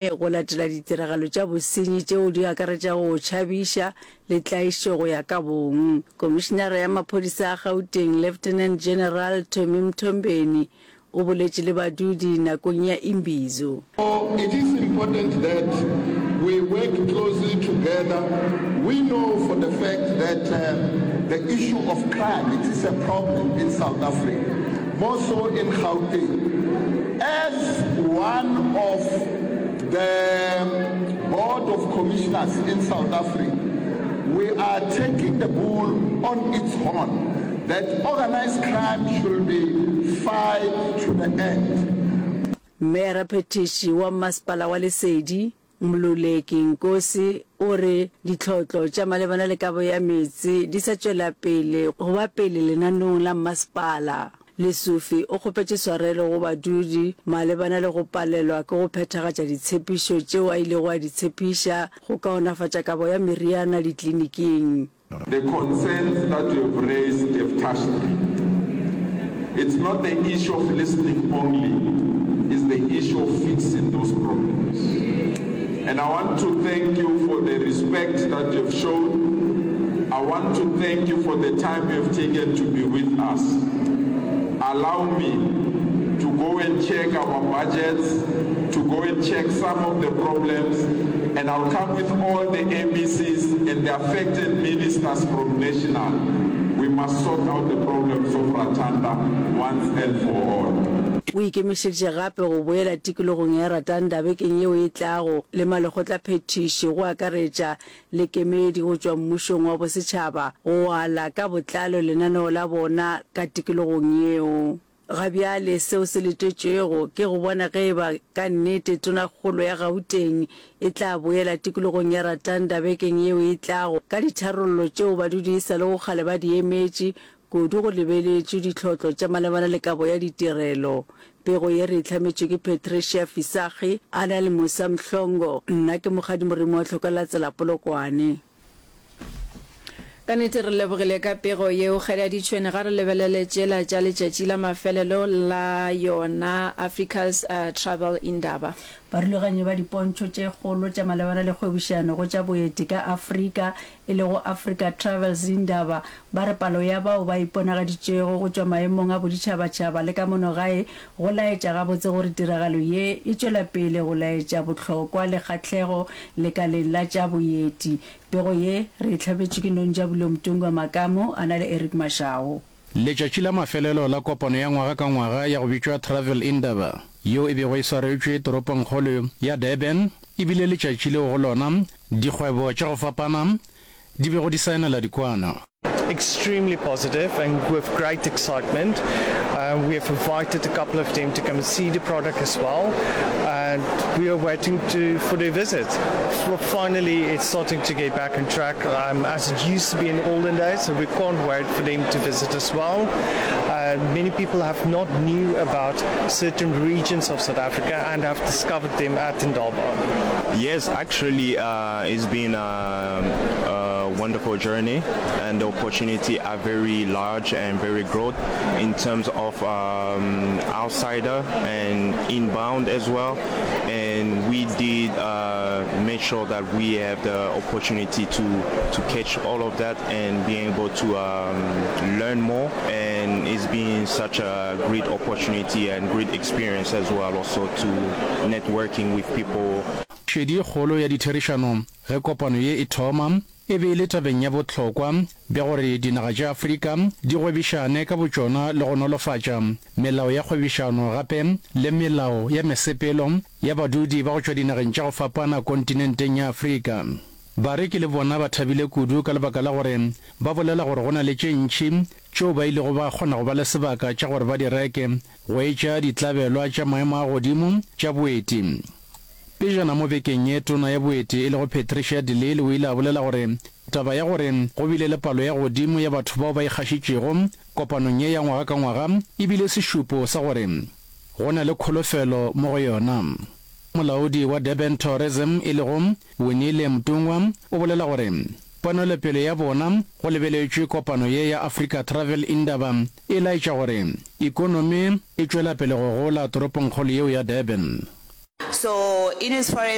Go latela ditiragalo tša bosenyi tšeo di akaretšago go tšhabiša le tlaišo go ya ka bong. Komišinara ya maphodisa a Gauteng, Lieutenant General Tommy Mthombeni o boletše le badudi nakong ya Imbizo. It is important that we work closely together. We know for the fact that the issue of crime, it is a problem in South Africa, more so in Gauteng. As one of the Board of Commissioners in South Africa, we are taking the bull on its horn that organized crime should be fight to the end. Meyaraphethiši wa Mmasepala wa Lesedi, Mluleki Nkosi o re ditlhotlo tša malebana le kabo ya meetse di sa tšwela pele go ba pele lenaneong la mmasepala. Lesufi o kgopetše swarelo go badudi malebana le go palelwa ke go phethagatša ditshepišo tšeo a ilego a di tshepiša go kaonafatša kabo ya meriana dikliniking. The concerns that you have raised have touched me. It's not the issue of listening only, it's the issue of fixing those problems. And I want to thank you for the respect that you have shown. I want to thank you for the time you have taken to be with us. Allow me to go and check our budgets, to go and check some of the problems, and I'll come with all the MECs and the affected ministers from national. We must sort out the problems of Ratanda once and for all. O ikemišeditše gape go boela tikologong ya Ratanda bekeng yeo e tlago le malekgotlaphethiši go akaretša le kemedi go tšwa mmušong wa bosetšhaba go ala ka botlalo lenaneo la bona ka tikologong yeo. Ga bjale seo se letetšwego ke go bona ge e ba ka nnete Tonakgolo ya Gauteng e tla boela tikologong ya Ratanda bekeng yeo e tlago ka ditharollo tšeo badudi e sa lego kgale ba di emetše, kudu go lebeletšwe ditlhotlo tša malebana le kabo ya ditirelo. Pego ye re e hlametšwe ke Patricia Fisagi a na le Musa Mhlongo. Nna ke Mokgadi Moremi wa Tlhokalatsela Polokwane. Ka nnete re lebogile ka pego yeo Kgadi ya Ditšhwene. Ga re lebelele tšela tša letšatši la mafelelo la yona Africa's Travel Indaba. Barulaganyi ba dipontšho tše kgolo tša malebana le kgwebišano go tša boeti ka Afrika, e lego Africa Travels Indaba, ba re palo ya bao ba iponagaditšego go tšwa maemong a boditšhabatšhaba le ka mono gae go laetša gabotse gore tiragalo ye e tšwela pele go laetša bohlokwa le kgahlego lekaleng la tša boeti. Pego ye re e hlabetšwe ke Nonjabulo Mtungwa Makamu a na le Eric Mashau. Letšatši la mafelelo la kopano ya ngwaga ka ngwaga ya go bitšwa Travel Indaba, yeo e bego e swaretšwe toropongkgolo ya Durban, e bile letšatši leo go lona dikgwebo tša go fapana di bego di saenela dikwano. Extremely positive and with great excitement. We have invited a couple of them to come and see the product as well, and we are waiting to for their visit. Finally, it's starting to get back on track um, as it used to be in the olden days, so we can't wait for them to visit as well. Many people have not knew about certain regions of South Africa and have discovered them at Indaba. Yes, actually, uh, it's been a, a wonderful journey, and the opportunity are very large and very broad in terms of um, outsider and inbound as well. And we did uh, make sure that we have the opportunity to, to catch all of that and be able to um, learn more. And it's been such a great opportunity and great experience as well also to networking with people. Šedi e kgolo ya ditherišano ge kopano ye e thoma e be e le tabeng ya bohlokwa bja gore dinaga tša Afrika di gwebišane ka botšona le go nolofatša melao ya kgwebišano gape le melao ya mesepelo ya badudi ba go tšwa dinageng tša go fapana kontinenteng ya Afrika. Bareki le bona ba thabile kudu ka lebaka la gore ba bolela gore go na le tše ntši tšeo ba ilego ba kgona go ba le sebaka tša gore ba di reke, go etša ditlabelwa tša maemo a godimo tša boeti. Pejana mo bekeng ye, tona ya boeti e lego Patricia de Lille o ile a bolela gore taba ya gore go bile le palo ya godimo ya batho bao ba ikgašitšego kopanong ye ya ngwaga ka ngwaga e bile sešupo sa gore go na le kholofelo mo go yona. Molaodi wa Durban Tourism e lego Winile Mtungwa o bolela gore ponelopele ya bona go lebeletšwe kopano ye ya Africa Travel Indaba e laetša gore ikonomi e tšwela pele go gola toropongkgolo yeo ya Durban. So in as far as.